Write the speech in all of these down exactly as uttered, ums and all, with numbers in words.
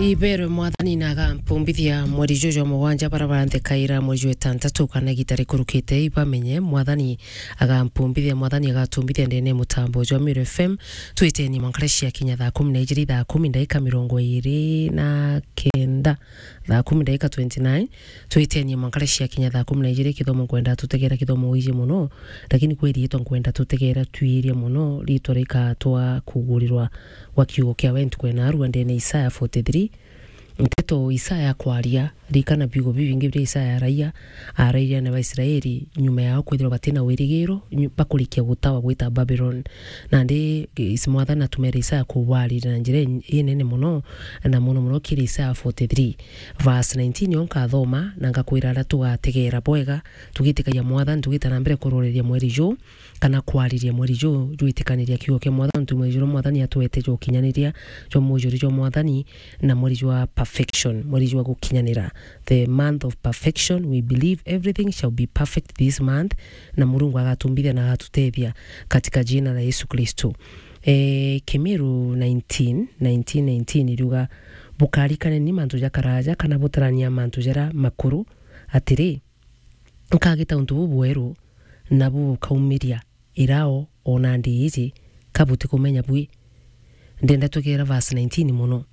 Iberwe Mwathani na agampumbithia mweri juju jwa mugwanja bara baranthekaira mweri jwa itantatu kana igita rikurukite, ibamenye Mwathani agampumbithia, Mwathani agatumbithia ndene mutambo jwa Meru F M. Twiteni mwankare cia kinya thaa kumi na ijiri, thaa kumi ndaika mirongo iri na kenda, thaa kumi ndaika twenty-nine. Twiteni mwankare cia kinya thaa kumi na ijiri, kithomo nkwenda tutegera, kithomo wiji muno, lakini kwi riitwa nkwenda tutegera twirie muno, riitwa rikatwa kugurirwa gwa kiugo kia we ntuku ena arua ndene Isaya forty-three. Nteto Isaya akwaria, rikana biugo bibingi biria Isaya araia, arairia na Baisraeli, nyuma yao kwithirwa batina wirigiro, nyu-, bakurikia gutawa gwita Babylon. Nandi is-, Mwathani atumere Isaya kubaarira na njira in-, inene muno, na muno muno kiri Isaya forty-three. Verse nineteen yo nkathoma, na ngakwira aria tugategera bwega, tugitikagia Mwathani, tugita na mbere kuroreria mweri juu, kana kwariria mweri juu, jwitikaniria kiugo kia Mwathani, nontu mweri juu Mwathani atwete jwa ukinyaniria, jwa mujuri jwa Mwathani, na mweri jwa perfection, mweri jwa gukinyanira. The month of perfection, we believe everything shall be perfect this month, na Murungu agatumbithia na agatutethia katika jina la Yesu Kristo. Eh, Kimiru nineteen, nineteen nineteen iriuga, "Bukarikane ni mantu ja karaja, kana butarania mantu jara makuru, atiri, nkagita untu bubweru, na bukaumiria irao ona ndi iji, ka butikumenya bwi?" Ndenda twigera verse nineteen muno.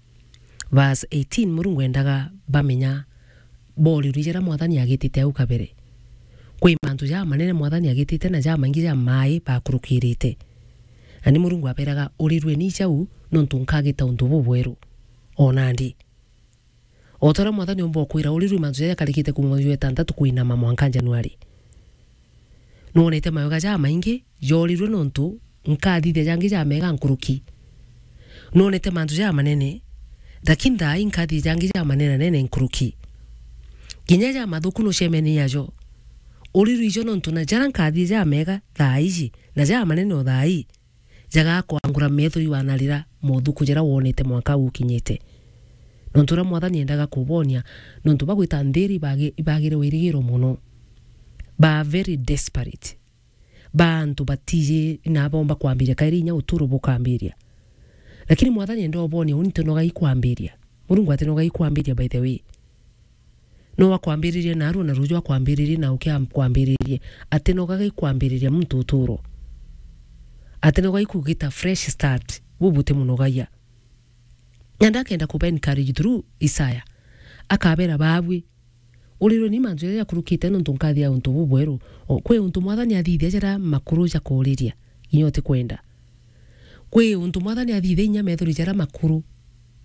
Verse eighteen, Murungu endaga bamenya borirwe jara Mwathani agitite au kabere. Kwi mantu jamanene Mwathani agitite na jamaingi ja mai bakurukirite. Na ni Murungu aberaga, "Urirwe ni jau, nontu nkagita untu bubweru." Ona ndi. O ta uria Mwathani omba ukwira, urirwe mantu jaria jakarikite kuuma mweri jwa itantatu kwinama mwanka Januari. Nwonete mawega jamaingi jorirwe nontu nkathithia jangi jamega nkuruki. Nwonete mantu jamanene, lakini thaa ii nkathithia jangi jamanenanene nkuruki. Kinya jamathuku nucemenie najo. Urirwe ijo nontu na jaria nkathithia jamega thaa iji, na jamanene o thaa ii, jagakwangura metho iwanarira mothuku jaria wonete mwanka ukinyite. Nontu uria Mwathani endaga kubonia, nontu bagwita nthiri ibagi-, ibagire wirigiro muno. Ba very desperate. Ba antu batiji na bomba kwambiria kairi inya uturo bukambiria. Lakini Mwathani enda ubonia, uni ntinoga ikwambiria. Murungu atinoga ikwambiria, by the way. No akwambiririe narua na ruju akwambiririe na ukia kwambiririe. Atinogaga ikwambiriria muntu uturo. Atinoga ikugita fresh start. Bubuti munogagia. Na ndakenda kuba encourage through Isaya. Akabera babwi, "Urirwe ni mantu jaria jakurukite nontu nkathia untu bubweru." O, kwi untu Mwathani athithia jaria makuru jakooriria, inya utikwenda. Kwi untu Mwathani athithia inya methori jaria makuru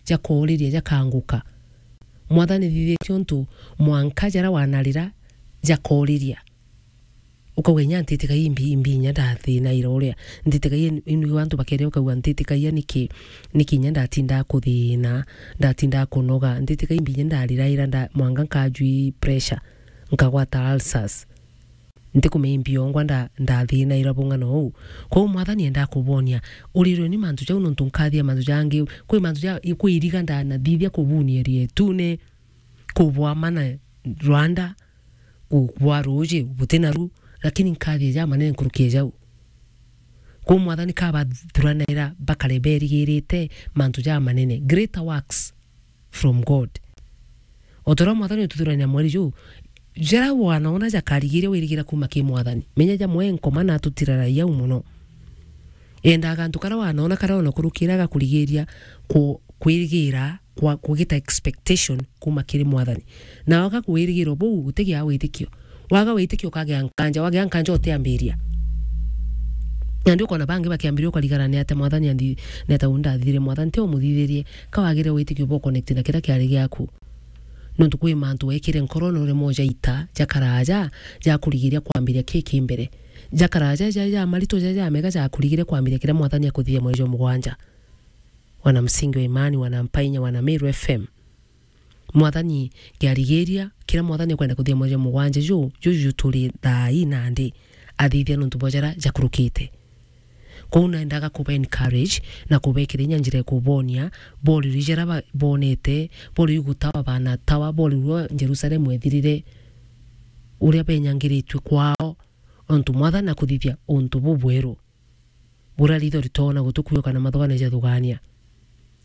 jakooriria, jakanguka. Mwathani athithitie untu mwanka jaria wanarira jakooriria. Ukauga, "Inya ntitikai imbi, imbi inya ndathina ira uria. Ntitikai inu antu bakeria ukauga, ntitikai niki, niki inya ndatinda kuthina, ndatinda kunoga. Ntitikai imbi inya ndarira ira nda, mwanga nkajwi pressure, nkagwata ulcers. Ntikumenya imbi yongwa nda, ndathina ira bung'ana uu." Kwou Mwathani enda kubonia, urirwe ni mantu jau nontu nkathia mantu jangi, kwi mantu ja, kwi iriga ndanathithia kubunia rietune, kubwamana rwanda, ku-, kubwa ruuji, buti naru, lakini nkathia jamanene nkuruki e jau. Kwou Mwathani kabathuranaira bakare berigirite mantu jamanene, greater works from God. O ta uria Mwathani ututhurania mweri juu, jaria wanaona jakarigiria wirigira kuuma ki Mwathani. Menya jamwe nkoma na atutiraragia au muno. Endaga antu karia wanaona karia ona kurukira gakurigiria ku-, kwirigira kwa kugita expectation kuuma kiri Mwathani. Na waga kwirigira buu, utigia witikio. Waga witikio, ukagea nkanja, wagea nkanja, utiambiria. Na ndi ukona bangi bakiambiria ukarigara, "Ni atia Mwathani anthi-, ni atia uu ndathithirie Mwathani?" Ti umuthithirie, ka wagire witikio bwa connect na kiria kiari giaku. Nontu kwi mantu wekire nkoro na uremwa ujaita, jakaraja, jakurigiria kwambiria ki ki mbere. Jakaraja, ja, ja maritu, ja, ja mega, jakurigiria kwambiria kiria Mwathani akuthithia mweri jwa mugwanja. Wana Msingi wa Imani, wana Mpainya, wana Meru F M. Mwathani kiarigiria, kiria Mwathani akwenda kuthithia mweri jwa mugwanja ju, ju, ju turi thaa ii nandi, athithia nontu bwa jaria jakurukite. Kwou naendaga kuba encourage na kubekira inya njira ya kubonia, borirwe jaria ba-, bonete, borirwe gutawa banatawa, borirwe Jerusalemu ethirire, uria benyangiritue kwao, ontu Mwathani akuthithia untu bubweru. Buria ritho ritoona gutukuuka na mathoga ni jathugania.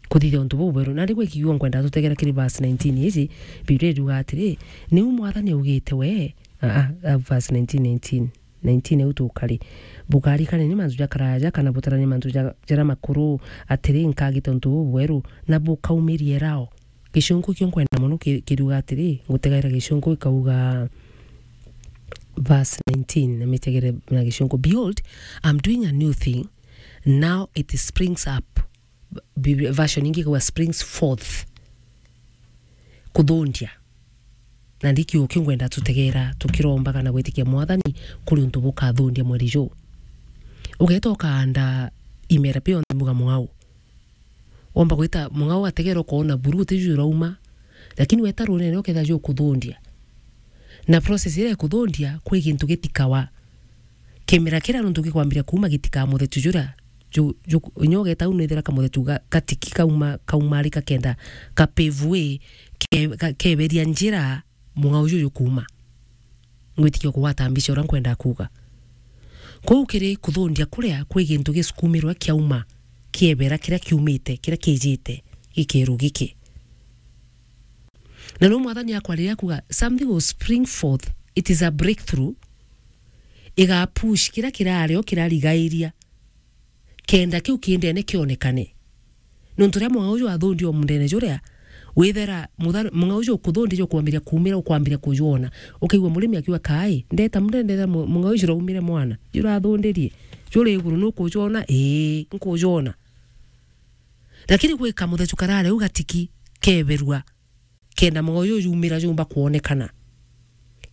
Kuthithia untu bubweru. Na riu gwikiuga nkwenda tutegera kiri verse nineteen iji, Biblia iruga atiri, "Niu Mwathani augite we," a, a, a, verse nineteen, nineteen, nineteen au tukari, "Bukarikane ni mantu ja karaja, kana butaranie mantu ja, jaria makuru, atiri, nkagita untu bubweru, na bukaumirie rao." Gicunku kio nkwenda mono ki-, kiruga atiri, ngutegaira gicunku ikauga, verse nineteen, na mitegere na gicunku, "Behold, I'm doing a new thing, now it springs up." Biblia, version ingi ikauga, "Springs forth." Kuthundia. Na ndi kiugo kiu ngwenda tutegera tukirombaga na gwitikia Mwathani kuri untu bukathundia mweri juu. Ugeeta ukaanda imera bionthe mbuga mung'au. Womba gwita mung'au ategera ukoona buru utiju urauma, lakini weta runene ukethira jukuthundia. Na process iria ikuthundia, kwi gintu gitikawa. Kimera kiria nuntu gikwambiria kuuma gitikaa muthetu juria ju-, ju-, inya ugeeta au nithira kamuthetu ga-, gatiki kauma, kaumarika kenda ka pave way, ke-, ga-, keberia njira mung'au juju jukuuma. Ngwitikia kugwata mbica uria nkwenda kuuga. Kuu kiri kuthundia kuria kwi gintu gisukumirwa kiauma, kiebera kiria kiumite, kiria kijite, gikeru giki. Na no Mwathani akwa riria akuga, "Something will spring forth, it is a breakthrough," iga push kiria kirario kirarigairia, kenda kiu kindene kionekane. Nontu riria mung'au uju athundia o mundene juria, withera mutha-, mung'au uju ukuthundia jukwambiria kuumira, ukwambiria kujwona. Ukaigua murimi akiuga, "Kai, ndeta mundene, ndeta mu-, mung'au uju juraumire mwana, jurathundirie, juri iguru, nukujwona?" "Ii, nkujwona." Lakini gwi kamuthetu karari au gatiki keberua, kenda mung'au juju jumira jumba kwonekana.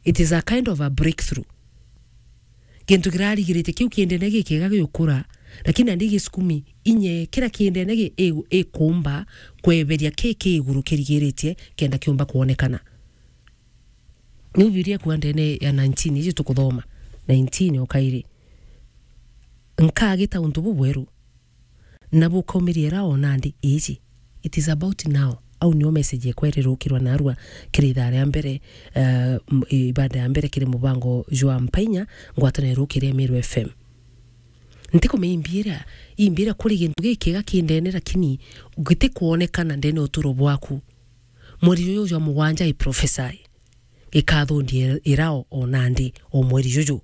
It is a kind of a breakthrough. Gintu kirarigiritie kiu kindene gikiega giukura, lakini nandi gisukumi inye kira kindene gi-, i-, ikumba kweberia ki ki iguru kirigiritie kenda kiumba kwonekana. Niu Biblia ikuuga ndene ya nineteen iji tukuthoma, nineteen o kairi, "Nkagita untu bubweru, na bukaumiria ira o nandi iji." It is about now. Au nio message ekwa irirukirwa narua kiri ithaa ria mbere, eh, m-, ibada ya mbere kiri mubango jwa Mpainya, ngwataniro irukiria Meru F M. Ntikumenya imbiira, imbiira kuri gintu gikiega kindene, lakini gitikwonekana ndene uturo bwaku. Mweri juju jwa mugwanja, I prophesy, gikathundia ira o, o nandi o mweri juju.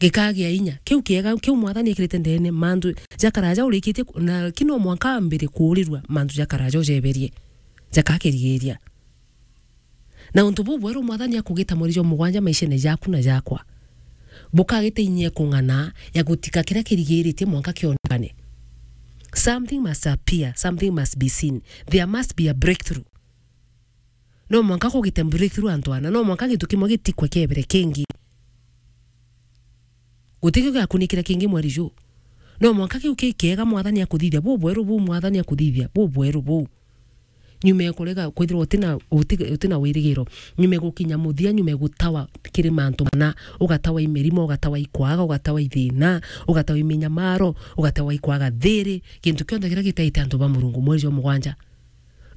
Gikagia inya. Kiu kiega, kiu Mwathani ekirite ndene, mantu ja karaja urikitie ku-, na ki no mwanka ambire kuurirua mantu ja karaja ujeberie, jakakirigiria. Na untu bubweru Mwathani akugita mweri jwa mugwanja maishene jaku na jakwa, bukagita inya ya kung'ana ya gutika kiria kirigiritie mwanka kionekane. Something must appear, something must be seen. There must be a breakthrough. No mwanka kugite breakthrough antu ana, no mwanka gintu kimwe gitikwe kiebere kingi. Guti kio giakunikira kingi mweri juu. No mwanka kiu ki kiega Mwathani akuthithia, bubweru buu Mwathani akuthithia, bubweru buu. Nyuma ya kurega kwithirwa utina, uti-, utina wirigiro, nyuma ya gukinya muthia, nyuma ya gutawa kiri mantu mana, ugatawa i mirimo, ugatawa i kwaga, ugatawa i thina, ugatawa i minyamaro, ugatawa i kwaga thiri, gintu kionthe kiria gitaite antu ba Murungu, mweri jwa mugwanja.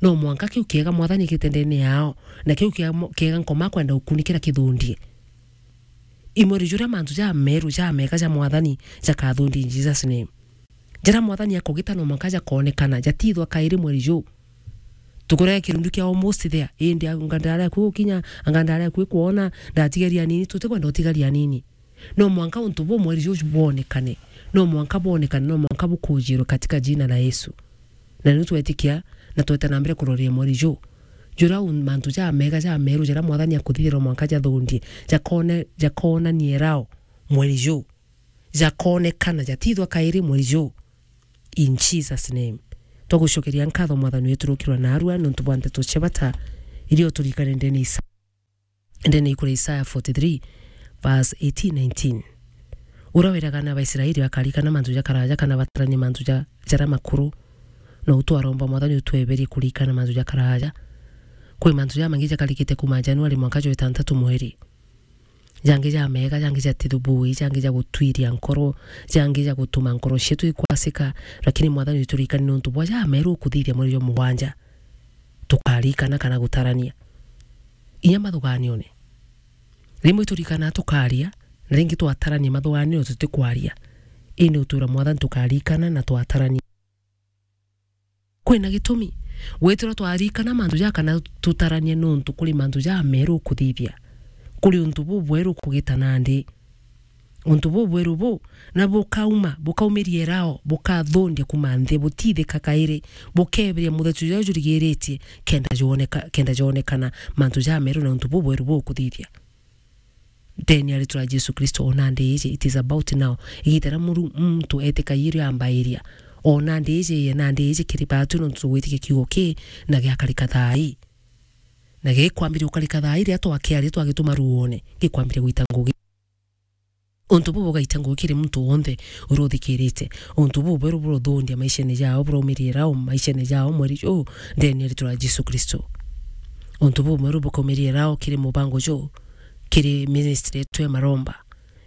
No mwanka kiu kiega Mwathani ekirite ndene yao, na kiu kiega mo-, kiega Nkoma akwenda gukunikira kithundie. I mweri juria mantu jameru, jamega ja Mwathani jakathundia in Jesus name. Jaria Mwathani akugita no mwanka jakoonekana, jatithwa kairi mweri juu. Tukurega kirundu kia almost there, indi anga ndari akui gukinya, anga ndari akui kwona, ndatigaria nini, tutikwenda utigaria nini. No mwanka untu buu mweri juju bwonekane. No mwanka bwonekane, no mwanka bukujirwe katika jina la Yesu. Na niu twetikia na tweta na mbere kuroria mweri juu. Juria u-, mantu jamega, jameru, jaria Mwathani akuthithia no mwanka jathundie, jakone-, jakonanie rao mweri juu. Jakonekana, jatithwa kairi mweri juu. In Jesus name. Twagucokeria nkatho Mwathani wetu rukirwa narua nontu bwa nteto cia bata iria uturikane ndene Isa-, ndene ikura Isaya forty-three, verse eighteen, nineteen. Uria wiraga na Abaisraeli bakarikana mantu ja karaja kana bataranie mantu ja, jaria makuru, no utwaromba Mwathani utweberie kurikana mantu ja karaja. Kwi mantu jamangi jakarikite kuma Januari mwanka jwa itantatu mweri. Jangi jamega, jangi ja tithubui, jangi ja gutwiria nkoro, jangi ja gutuma nkoro cietu ikwasika, lakini Mwathani uturikani nontu bwa jameru ukuthithia mweri jwa mugwanja. Tukarikana kana gutarania. Inya mathuganione. Rimwe turikana tukaria, na ringi twatarania mathuganione tutikwaria. Indi utura Mwathani tukarikana na twatarania. Kwina gitumi. Gwithirwa twarikana mantu ja kana tutaranie nuntu kuri mantu jameru ukuthithia. Kuri untu bubweru ukugita nandi. Untu bubweru bu, na bukauma, bukaumiria irao, bukathundia kuuma nthi, butithika kairi, bukeebiria muthetu juria jurigiritie, kenda joneka-, kenda jonekana mantu jameru na untu bubweru bukuthithia. Ndeni ya ritwa ria Jesu Kristo, o nandi iji, it is about now. Igita ria muru-, muntu etikagia irio ambairia. O nandi iji, ye nandi iji kiri batu nontu tugwitikia kiugo ki, na giakarika thaa ii. Na gikwambiria gukarika thaa ii riria twakiaria twagituma ruone, gikwambiria gwita ngugi. Untu buu bugaita ngugi kiri muntu wonthe uria uthikirite. Untu buu bweru burothundia maishene jao, buraumiria irao maishene jao mweri juu, ndeni ya ritwa ria Jesu Kristo. Untu buu bweru bukaumiria irao kiri mubango juu, kiri ministry yetu ya maromba,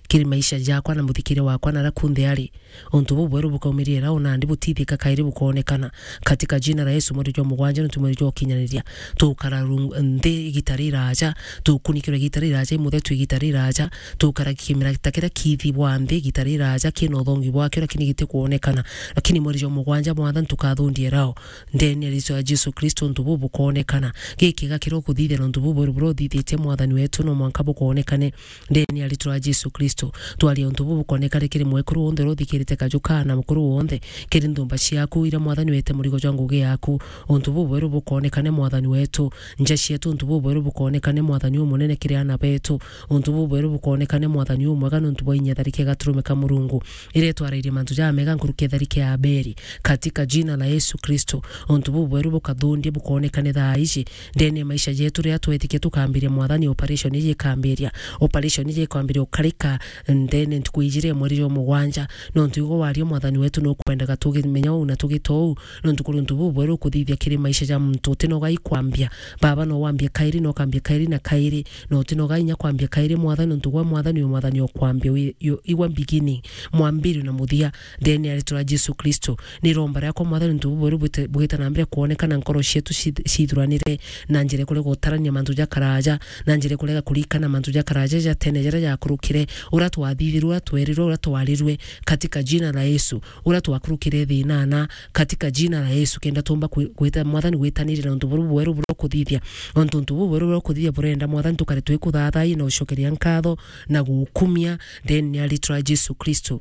kiri maisha jakwa na muthikire wakwa na aria kunthe ari. Untu buu bweru bukaumiria irao nandi butithika kairi bukoonekana. Katika jina la Yesu, mweri jwa mugwanja nontu mweri jwa ukinyaniria. Tukara rung-, nthi igita riraja, tukunikirwe igita riraja, imuthetu igita riraja, tukara kimera ta kiria kithi bwa nthi igita riraja, kina uthongi bwakio, lakini gitikuonekana. Lakini mweri jwa mugwanja, Mwathani, tukathundia irao. Ndeni ya ritwa ria Jesu Kristo, untu buu bukoonekana. Gikiga kiria ukuthithia nontu buu bweru buria uthithitie, Mwathani wetu, no mwanka bukoonekane. Ndeni ya ritwa ria Jesu Kristo, twaria untu buu bukoonekane kiri mwekuru wonthe uria uthikirite kaju kaa na mukuru wonthe, kiri nthumba ciaku iria, Mwathani, wete murigo jwa ngugi yaku. Untu buu bweru bukoonekane, Mwathani wetu. Nja cietu, untu buu bweru bukoonekane, Mwathani umunene, kiri aana betu. Untu buu bweru bukoonekane, Mwathani umwega, nontu bwa inya tharike gaturume ka Murungu, iria itwarairie mantu jamega nkuruki ya tharike ya Abeli. Katika jina la Yesu Kristo, untu buu bweru bukathundia bukoonekane thaa iji, ndeni ya maisha jetu riria twetikia tukambiria, Mwathani, operation iji ikambiria. Operation iji ikambiria ukarika ndeni ntuku ijiri ya mweri jwa mugwanja. Nontu igwe waria, Mwathani wetu, nukwendaga tugimenya uu na tugita uu, nontu kuri untu bubweru ukuthithia kiri maisha ja muntu utinoga ikwambia. Baba, no wambia kairi, no kambia kairi na kairi, no utinoga inya kwambia kairi, Mwathani, nontu gwe, Mwathani, wi Mwathani o kwambia, wi, yu, igwe beginning, mwambirio na muthia, ndeni ya ritwa ria Jesu Kristo. Ni iromba riakwa, Mwathani, untu bubweru bwite-, bwite na mbere kwonekana nkoro cietu ci-, cithuranire na njira ikurega gutarania mantu ja karaja, na njira ikurega kurikana mantu ja karaja ja tene jaria jakurukire, uria twathithirwe, uria twerirwe, uria twarirwe, katika jina la Yesu, uria twakurukire thinana, katika jina la Yesu, kenda tumba kwi-, gwita, Mwathani, gwitaniria na untu buru bweru buria ukuthithia. Ontu untu buu bweru buria ukuthithia burenda, Mwathani, tukare twikuthathai na ucokeria nkatho na gukumia, ndeni ya ritwa ria Jesu Kristo.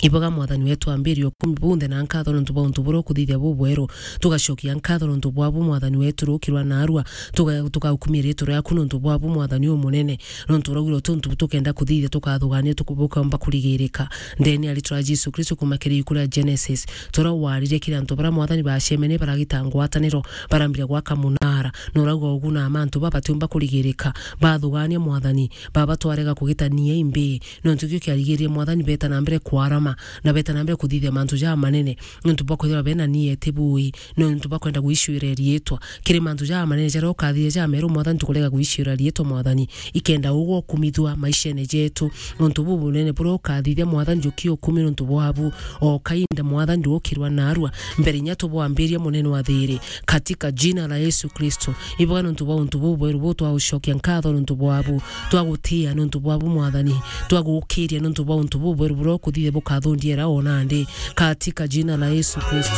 Iboga, Mwathani wetu, ambiria ukumi bunthe na nkatho nontu bwa untu buria ukuthithia bubweru. Tugacokia nkatho nontu bwabu, Mwathani wetu, ruki rwa naarua. Tuga-, tugaukumia ritwa riaku nontu bwabu, Mwathani umunene. Nontu uraugire uti untu tukenda kuthithia tukathugania tuku-, bukomba kurigirika. Ndeni ya ritwa ria Jesu Kristo, kuma kiri iku ria Genesis, turia waririe kiri antu baria, Mwathani, bacemene baragita ngwataniro, barambire gwaka munara. Na urauga ugu na mantu baba batiumba kurigirika. Bathugania, Mwathani, baba twarega kugitania imbi. Nontu kio kiarigiririe, Mwathani, beta na mbere kwarama, na beta na mbere kuthithia mantu jamanene. Nontu bwa kwithirwa bena nieti bui, nontu bwa kwenda gwiciura riitwa. Kiri mantu jamanene jaria ukathithia jameru, Mwathani, tukurega gwiciura riitwa, Mwathani, ikenda ugwe ukumithua maishene jetu. Nontu buu bunene buria ukathithia, Mwathani, njuki ukumi nontu bwabu. O kainda, Mwathani, ndukirwa naarua mbere inya tubwambiria, munene wa thiri. Katika jina la Yesu Kristo, iboga nontu bwa untu bubweru buu, twagucokia nkatho nontu bwabu, twagutia nontu bwabu, Mwathani, twagukiria nontu bwa untu bubweru buria ukuthithia bukathundia era o nandi, katika jina la Yesu Kristo.